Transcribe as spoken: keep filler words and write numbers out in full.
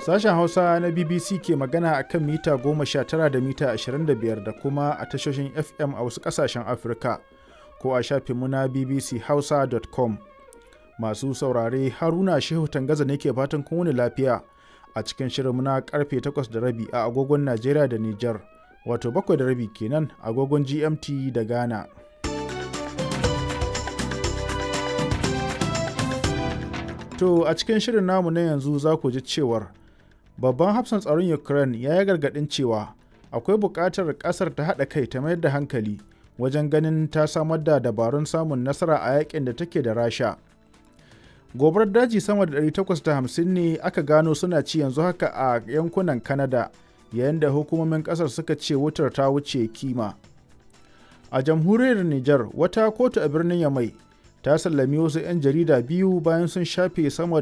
Sashen Hausa na B B C ke magana a kan mita goma sha tara da mita ashirin da biyar da kuma a tashoshin F M a wasu ƙasashen Afirka ko a shafinmu na B B C hausa dot com. Masu saurare, Haruna Shehu Tangaza ne ke fatan kun wuni lafiya a cikin shirinmu na karfe takwas da rabi a agogon Najeriya da Nijar, wato bakwai da rabi kenan agogon G M T da Ghana. To a cikin shirin namu na yanzu za ku ji cewar babban hafsan tsaron Ukraine ya yi gargaɗin cewa akwai buƙatar ƙasar ta haɗa kai ta mayar da hankali wajen ganin ta samar da dabarun samun nasara a yakin da take da Rasha. Gobarar daji sama da ɗari takwas da hamsin ne aka gano suna ci yanzu haka a yankunan Canada, yayin da hukumomin ƙasar suka ce wutar ta wuce kima. A jamhuriyar Nijar, wata kotu a birnin Yamai ta sallami wasu 'yan jarida biyu bayan sun shafe sama